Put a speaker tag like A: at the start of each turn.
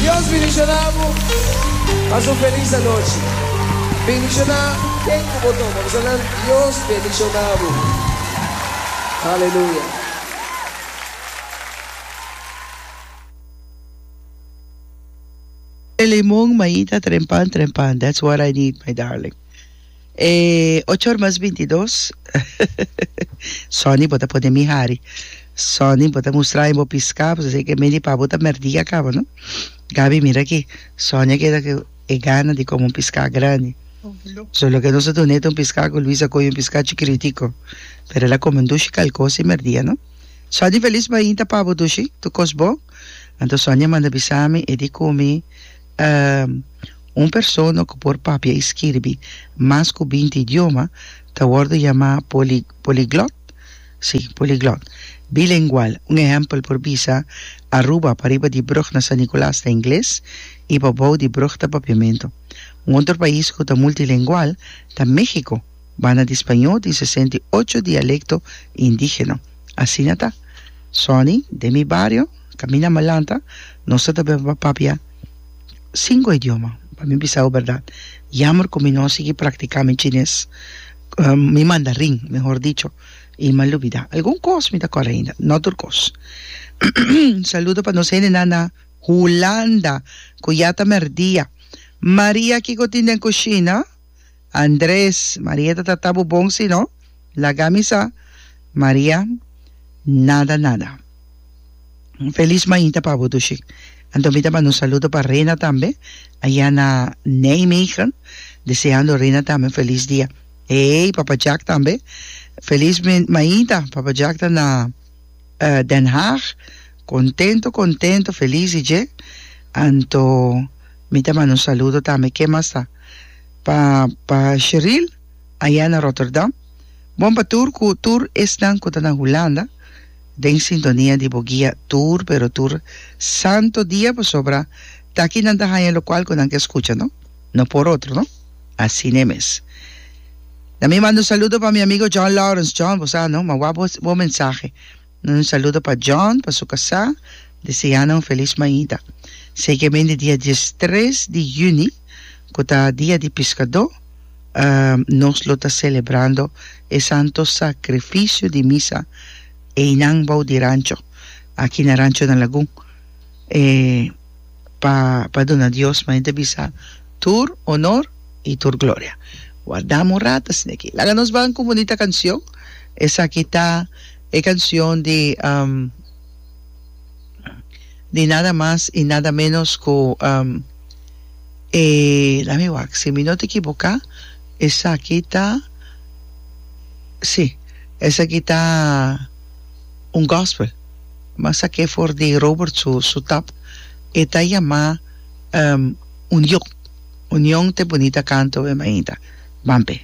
A: Dios bendiciona bo. Pasa un feliz anochi. Bendiciona ken cu bo tuma. Bisa nan Dios bendiciona bo. Aleluya.
B: Limon maita trempan trempan that's what I need my darling e ocho or mas bintidos Sonny bo ta pone mi hari Sonny bo ta mustra mi bo pisca pasobra esei ke meni pa bo ta merdia caba no Gaby mira aki Sonny a keda ku e gana di come un pisca grandi so loke nos a duna e ta un pisca ku Luis a coge un pisca chikiritico pero el a come un dushi calcosi merdia no Sonny feliz mainta pa bo dushi tur cos bon. Anto Sonia manda bisa mi e di ku mi un persona ku por papia i skirbi mas ku binti idioma ta wòrdu yamá poliglòt, sí, poliglòt, bilengual. Un ehèmpel por bisa Aruba pariba di brùg na San Nicolas ta ingles i pabou di brùg ta papiamentu. Un otro pais ku ta multilengual ta México, banda di spañó tin 68 dialekto indígeno. Asina ta. Sonny, den mi bario, kaminda mi a lanta, nos ta ta papia sinku idioma. Pa mi bisa bo bèrdat, yammer ku mi no a sigui praktiká mi chines, mi mandarin, mehor dicho, i mi a lubidá. Algun kos mi ta kòrda ainda, no tur kos. Saludo pa nos hendenan na Hulanda ku ya ta mèrdia. Maria, kiko tin den kushina? Andres, Maria ta trata bo bon si no? Laga mi sa. Maria, Nada nada. Un felis mainta pa bo dushi. Anto mi ta manda un saludo pa Rena tambe, aya na Nijmegen, deseando Rena tambe un felis dia. Hey, Papa Jack tambe. Felis mainta, Papa Jack ta na Den Haag, contento contento, felis di dje. Anto mi ta manda un saludo tambe, ken mas ta? Pa pa Sheril aya na Rotterdam. Bon pa tur ku tur esnan ku ta na Hulanda den sintonia di bo guia tur pero tur santo dia pasobra ta aki nan ta haña lokual ku nan ke skucha no no por otro no asina e mes. Na mi manda un saludo pa mi amigo John Lawrence John bo sa no ma wak bo mensahe. Un saludo pa John, pa su kasá, deseá nan un felis mainta. Sekemente dia diestres di yüni, ku ta dia di piskadó, nos lo ta selebrando e Santo Sakrifisio di Misa einan bou di rancho, aki na Rancho na Lagun, e pa pa duna Dios mainta bisa tur honor i tur gloria. Wardam un rato asin'aki. Laga nos ban ku un bunita kansion. Esaki ta e cancion di di nada mas y nada menos cu e lami wak si mi no ta equiboca esaki ta si esaki ta un gospel mi a sake for di Robert su su tap e ta yama union union ta e bunita canto e mainta ban p'e.